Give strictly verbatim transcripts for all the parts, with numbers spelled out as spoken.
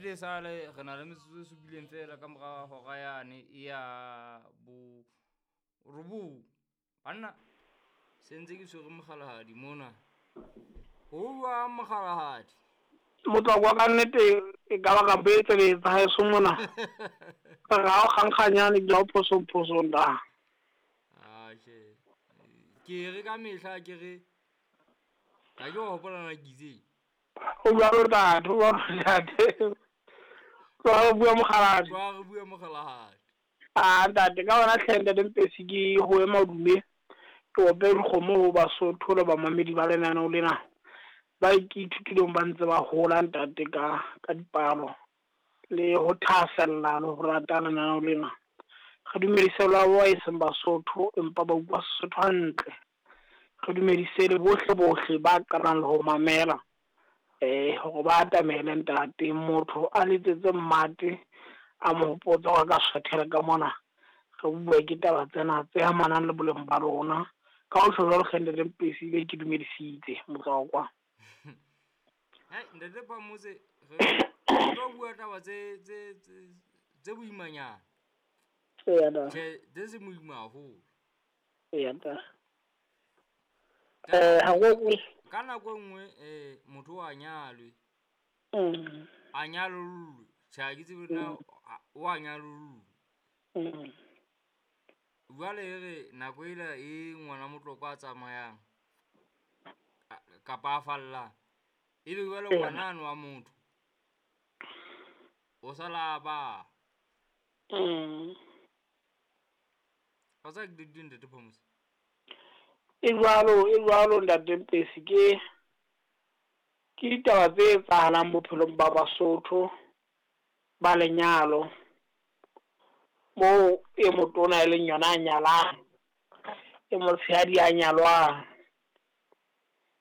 Nnete e sale re na le metsotso e supileng fela ka mora hora yane e ya bo robong. Banna se ntse ke tshwere mokgalahadi mona. Ho jwang mokgalahadi? Motswako wa ka nnete e ka ba ka betseletsa haeso mona. Re ha o kgankganyane ke la o phosong phosong da. Ah, tjhe. Ke re ka mehla ke re ha ke wa hopola na ke itseng. O jwalo ntate, o jwalo ntate. Tloha re bua mokgalahadi. Tloha re bua mokgalahadi. Ah ntate, ka hona hle ntate Mpesi ke ho ema madume. Ke ope dikgomo ho Basotho le bamamedi ba lenaneo lena. Ba ke ithutileng ba ntse ba hola ntate ka ka dipalo le ho thahasella le ho rata lenaneo lena. Re dumedise le bao e seng Basotho empa ba utlwa Sesotho hantle. Re dumedise le bohle bohle ba qalang le ho mamela eh hore ba atamele ntate. Motho a letsetse mmate a mo hopotsa hore a ka swathela ka mona. Re bua ke taba tsena tse amanang le boleng ba rona. Ka ho tjho jwalo hle ntate Mpesi be ke dumedisitse motswakwa. Hai ntate Phamotse re tlo bua taba tse tse tse boimanyana. Eya da. Tjhe, tse seng boima haholo. Eya da. Eh ha go ka nako e nngwe eh motho o a nyalwe. Mm. A nyalollwe. Tjhe, ha ke tsebe na o a nyalollwe. Mm. Jwale e re nako ela e ngwana Motlokwa a tsamayang kapa a fallang, ebe jwale ngwana ano wa motho o sala a ba. Mm. Ha sa ke di ntate Phamotse. E jwalo, e jwalo ntate Mpesi, ke ke ditaba tse etsahalang bophelong ba Basotho ba lenyalo. Moo e motona e leng yona a nyalang, e motshehadi a nyalwang.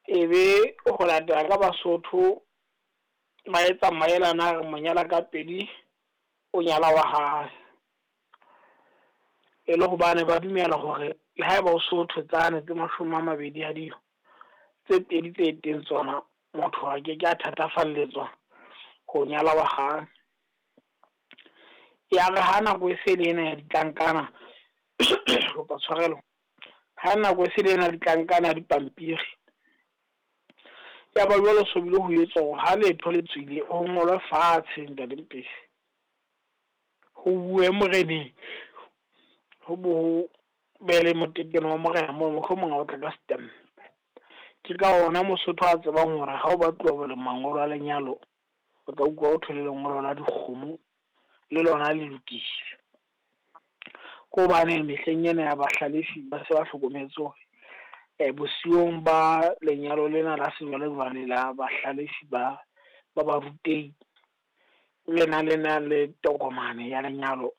Ebe ho latela ka Basotho ba etsa maelana a re monyala ka pedi o nyala wa hae. E le hobane ba dumela hore le haeba o so tsane tse mashome a mabedi a dijo tse pedi tse teng tsona, motho a ke ke a thatafalletswa ho nyala wa hae. Ya re ha nako e se le ena ya ditlankana, kopa tshwarelo, ha nako e se le ena ya ditlankana ya dipampiri, ya ba jwale so bile ho etswa hore ha letho le tswile ho ngolwe fatshe ntate Mpesi. Ho bue moreneng, ho bo ho be le motekeno wa morena moo mohlomong ha o tla ka stamp. Ke ka ona Mosotho a tsebang hore ha o batluwa le mangolo a lenyalo, o tla utlwa ho thwe le lengolo la dikgomo le lona le lokile. Ke hobane mehleng ena ya bahlalefi ba se ba hlokometse hore eh bosiung ba lenyalo lena la sejwalejwale la bahlalefi ba ba barutehi lena le na le tokomane ya lenyalo.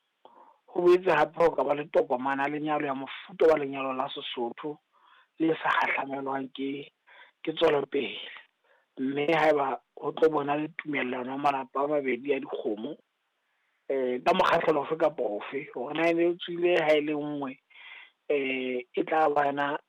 Ho boetse hape ho ka ba le tokomane ya lenyalo ya mofuta wa lenyalo la Sesotho le sa kgahlamelwang ke ke tswelopele. Mme haeba ho tlo bona le tumellano ya malapa a mabedi a dikgomo eh ka mokgahlelo ofe kapa ofe hore na e tswile ha e le nngwe eh e tla ba yona